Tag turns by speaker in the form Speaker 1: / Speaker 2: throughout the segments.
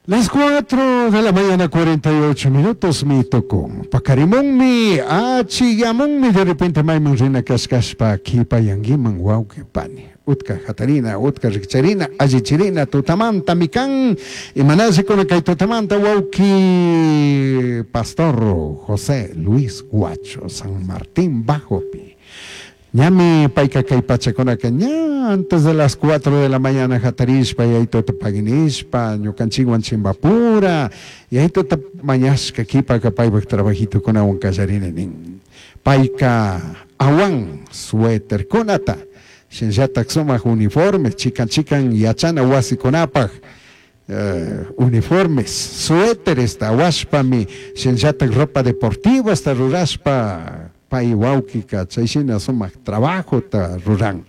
Speaker 1: Las 4 de la mañana 48 minutos mi tucun. Pacarimunmi, achiyamunmi, de repente mayman rina kashkashpa kipayanguiman wawqi pani. Utka hatarina, utka rikcharina, allichirina, tutamanta mikan. Imanallikuna kay tutamanta wawqi Pastor José Luis Guacho, San Martín Bajopi. Ñami payka kay pachakunaka ña antes de las 4 de la mañana hatarishpa yayituta paginishpa ñukanchikwan chimbapura yayituta mañashka kipaka paypak trabajitukunawan kallarini nin. Payka awan suéterkunata shinallatak sumak uniforme chikan chikan yachana wasikunapak uniformes, suéteresta awashpami shinallatak ropa deportivasta rurashpa pay wawkika chayshina sumak trabajota ruran.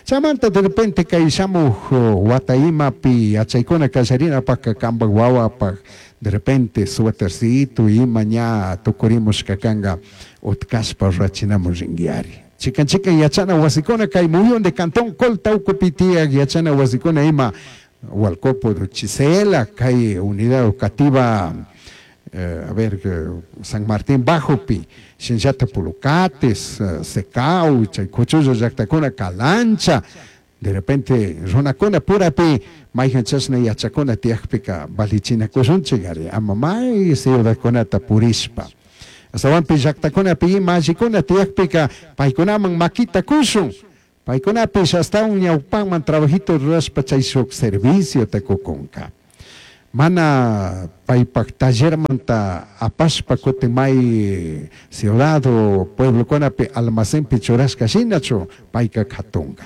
Speaker 1: Chaymanta de repente kay shamuj wata imapi yachaykuna kallarinapaka kanpak wawapak de repente suétercito ima ña tukurimushka kanka utkashpa rurachinamun rinkiari. Chikan chikan yachana wasikuna kay muyun de Cantón Colta ukupi tiyak yachana wasikuna ima Hualcopo, Chisela, kay unidad educativa a ver, San Martín Bajopi, shinallata Pulucates, Secau, chay kuchullo llaktakuna Calancha, de repente runakuna purapi mayjan chashna yachakuna tiyakpika valichinakushunchik ari ama may ciudadkunata purishpa. Astawanpi llaktakunapi ima allikuna tiyakpika paykunaman makita kushun. Paykunapish astawan ñawpanman trabajito rurashpa chay shuk serviciota kukunka. Mana paypak tallermanta apashpa kutin may ciudad o pueblokunapi almacenpi churashka shinachu payka katunka.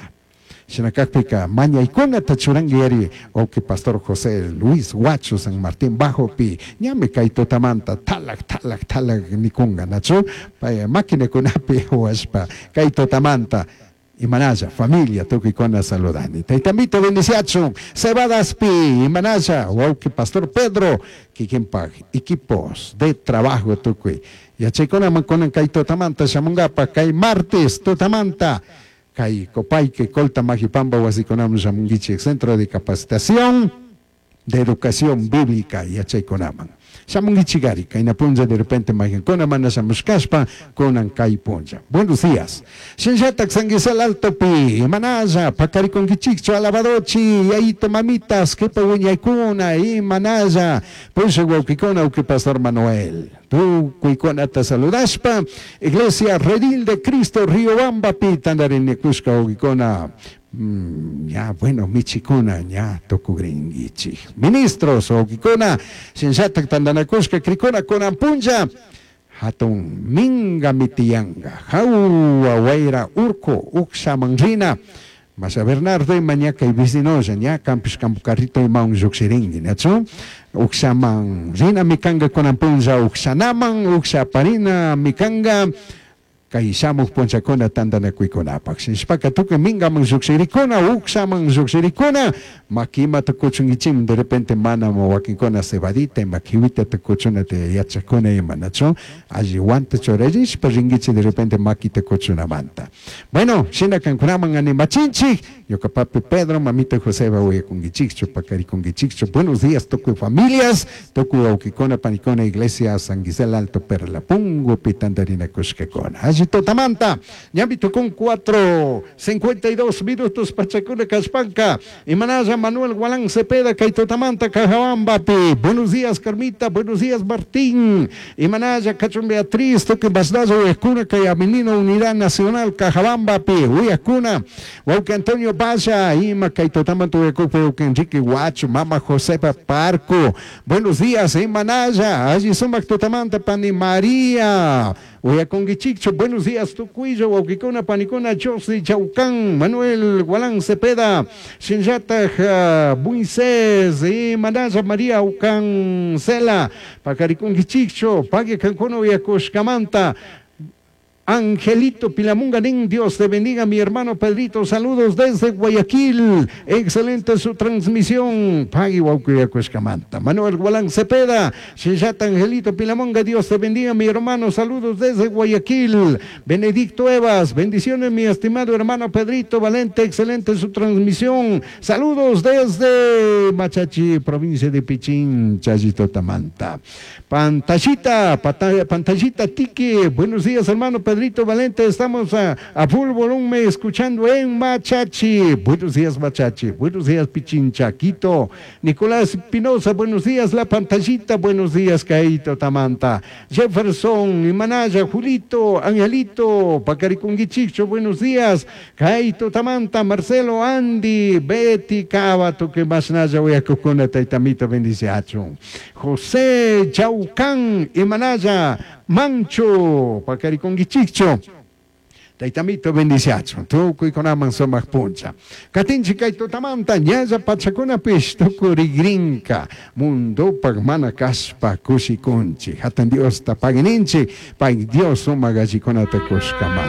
Speaker 1: Shina kakpika mañaykunata churanki ari wawqi Pastor José Luis Guacho San Martín Bajopi ñami kay tutamanta talak talak talak nikunka nachu pay maquinakunapi awashpa kay tutamanta imanalla familia tukuykuna saludani. Taytamito bendiciachun Cebadaspi imanalla wawqi Pastor Pedro kikinpak equipos de trabajo tukuy yachaykunaman kunan kay tutamanta shamunkapa kay martes tutamanta kay Copaique Colta Majipamba wasikunaman shamunkichik Centro de Capacitación de Educación Bíblica yachaykunaman. Shamunkichik ari kayna punlla de repente mayqankuna mana shamushkashpa kunan kay punlla. Buenos días. Shinallatak San Gisel Altopi imanalla pakarikunkichikchu alabadochi yayito mamitas kipa wiñaykuna imanalla pushak wawqikuna wawqi Pastor Manuel. Tukuykunata saludashpa Iglesia Redil de Cristo Riobambapi tandarinikushka wawqikuna ña bueno michikuna ña tukugrinkichik. Ministros wawqikuna shinallatak tandanakushka krikuna kunan punlla hatun minga mitiyanka hawa wayra urku ukshaman rina Masha Bernardo ima ña kay vecinolla ña kampish kampu carrito imawan llukshirinki nachu ukshaman rina mikanka kunan punlla ukshanaman ukshaparina mikanka kay shamuk punllakuna tantanakuykunapak shinashpaka tukuy mingaman llukshirikuna ukshaman llukshirikuna maki imata kuchunkichik de repente mana wakinkuna cebadita ima kiwitata kuchunata yachakuna ima nachu alli wanta churarishpa rinkichik de repente makita kuchunamanta. Bueno, shina kankunaman animachinchik ñuka papi Pedro, mamita Joseba uyakunkichikchu pakarikunkichikchu. Buenos días tukuy familias, tukuy wawkikuna panikuna iglesia San Gisel Alto Perlapungupi tantarinakushkakuna. Alli tutamanta, ñami tukun 4:52 minutos pachakuna kashpanka. Imanalla Manuel Gualán Cepeda kay tutamanta Cajabambapi. Buenos días Carmita, buenos días Martín. Imanalla Cachón Beatriz, tukuy Basdazo uyakuna kay Avenida Unidad Nacional Cajabambapi. Uyakuna, wawqi Antonio Valla, ima kay tutamanta uyakukpi wawqi Enrique Guacho, mama Josefa Parco. Buenos días, imanalla, alli sumak tutamanta pani María. Uyakunkichikchu, buenos días tukuylla wawqikuna panikuna José Chaucán, Manuel Gualán Cepeda, shinallatak Moisés, imanalla María Ucancela, pakarikunkichikchu, pagui kankuna uyakushkamanta. Angelito Pilamunga nin, Dios te bendiga mi hermano Pedrito, saludos desde Guayaquil, excelente su transmisión, pagui waukiyakushkamanta. Manuel Gualán Cepeda, Shillata Angelito Pilamunga, Dios te bendiga mi hermano, saludos desde Guayaquil. Benedicto Evas, bendiciones mi estimado hermano Pedrito Valente, excelente su transmisión, saludos desde Machachi, provincia de Pichincha, Tamanta. Pantallita, pantallita Tiki, buenos días hermano Pedrito Valente, estamos a, a full volumen escuchando en Machachi. Buenos días Machachi, buenos días Pichincha, Quito. Nicolás Pinoza, buenos días La Pantallita, buenos días Caito Tamanta. Jefferson, Imanaya, Julito, Angelito, Pacaricunguichicho, buenos días. Caito Tamanta, Marcelo, Andy, Betty, Cava, que más naya voy a cucuna, taitamito, bendiciacho. José Chaucán, Imanaya, Mancho, Pacaricunguichicho. Taitamito bendiciacho, tukuykunaman sumaq puncha. Katinchik kay tutamanta ñalla pachakunapish tukurigrinka mundopaq mana kashpa kushikunchik. Hatun Diosta pagininchik, pay Dios sumaq allikunata kushkamanta.